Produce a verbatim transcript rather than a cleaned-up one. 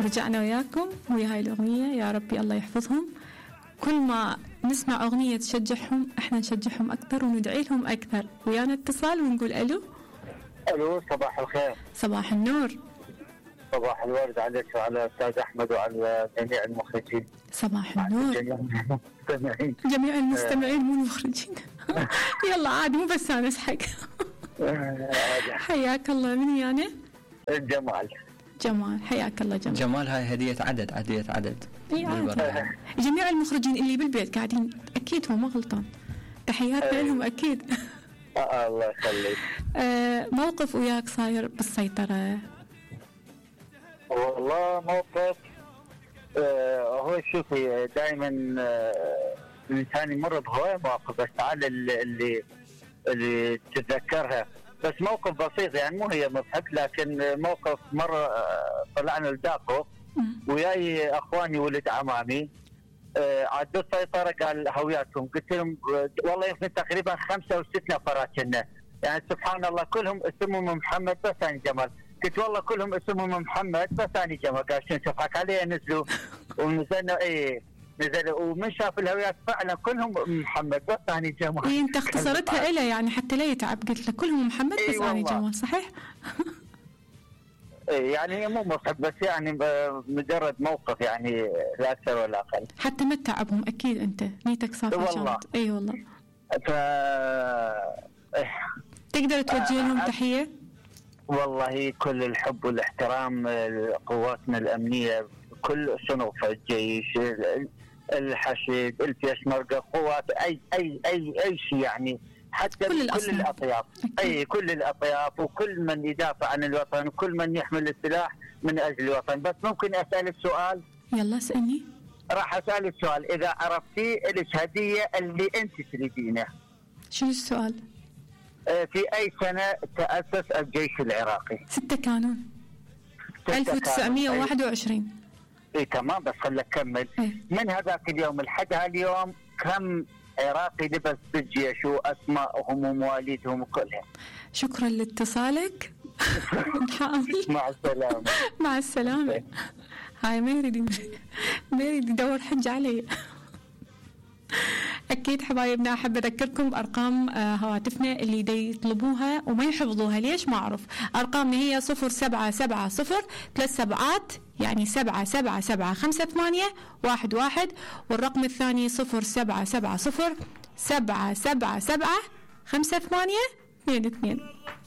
رجعنا وياكم ويا هاي الأغنية. يا ربي الله يحفظهم. كل ما نسمع أغنية تشجعهم احنا نشجعهم أكثر وندعي لهم أكثر. ويانا اتصال ونقول ألو. ألو صباح الخير. صباح النور. صباح الورد عليك وعلى الأستاذ أحمد وعلى جميع المخرجين. صباح النور. جميع المستمعين. جميع المستمعين مو المخرجين. يلا عادي مو بس أنا أسحق. حياك الله. من يعني؟ جمال. جمال حياك الله. جمال جمال هاي هدية عدد هدية عدد. اي عادي. جميع المخرجين اللي بالبيت قاعدين أكيد هو ما غلطان. تحياتنا لهم أكيد. آه الله يخليك. آه موقف وياك صاير بالسيطرة؟ والله موقف آه هو شوفي دائما آه الإنسان يمر بهواية مواقف بس تعال اللي, اللي اللي تتذكرها بس موقف بسيط يعني مو هي مضحك لكن موقف مرة آه طلعنا الداقو وياي أخواني ولد عمامي آه عدوا السيطرة قال هوياتهم قلت لهم والله يمكن تقريبا خمسة وست نفرات كنا يعني سبحان الله كلهم اسمهم محمد بس أنا جمال قلت والله كلهم اسمهم محمد بس أنا جمال قال شنو تضحك علي نزلوا ونزلنا ايه نزلوا ومن شاف الهويات فعلا كلهم محمد بس أنا جمال. إيه أنت اختصرتها إله يعني حتى لا يتعب قلت له كلهم محمد بس إيه أنا جمال صحيح؟ إيه يعني هي مو مضحك بس يعني مجرد موقف يعني لا أكثر ولا أقل. حتى ما تتعبهم أكيد أنت نيتك صافية والله. أي والله. ف تقدر توجه لهم تحية؟ والله كل الحب والاحترام لقواتنا الأمنية كل صنوف الجيش الحشد البيشمركة قوات أي أي أي أي شيء يعني حتى كل, كل الأطياف أي كل الأطياف وكل من يدافع عن الوطن وكل من يحمل السلاح من أجل الوطن. بس ممكن أسألك سؤال؟ يلا اسألني. راح أسألك سؤال إذا عرفتي لك هدية اللي أنت تريدينه. شو السؤال؟ في أي سنة تأسس الجيش العراقي؟ ستة كانون ألف وتسعمية وواحد وعشرين. إيه تمام بس خلك كمل. إيه؟ من هذاك اليوم لحد هاليوم كم عراقي لبس بالجيش وأسمائهم ومواليدهم وكلهم؟ شكرا لاتصالك. نحاول. مع السلامة. مع السلامة. هاي ما يريد ما يريد يدور حج علي. أكيد حبايبنا أحب أذكركم بأرقام هواتفنا اللي دي يطلبوها وما يحفظوها ليش ما أعرف. أرقامنا هي صفر سبعة سبعة صفر ثلاث سبعات يعني سبعة سبعة سبعة خمسة ثمانية واحد واحد والرقم الثاني صفر سبعة سبعة صفر سبعة سبعة سبعة خمسة ثمانية اثنين اثنين.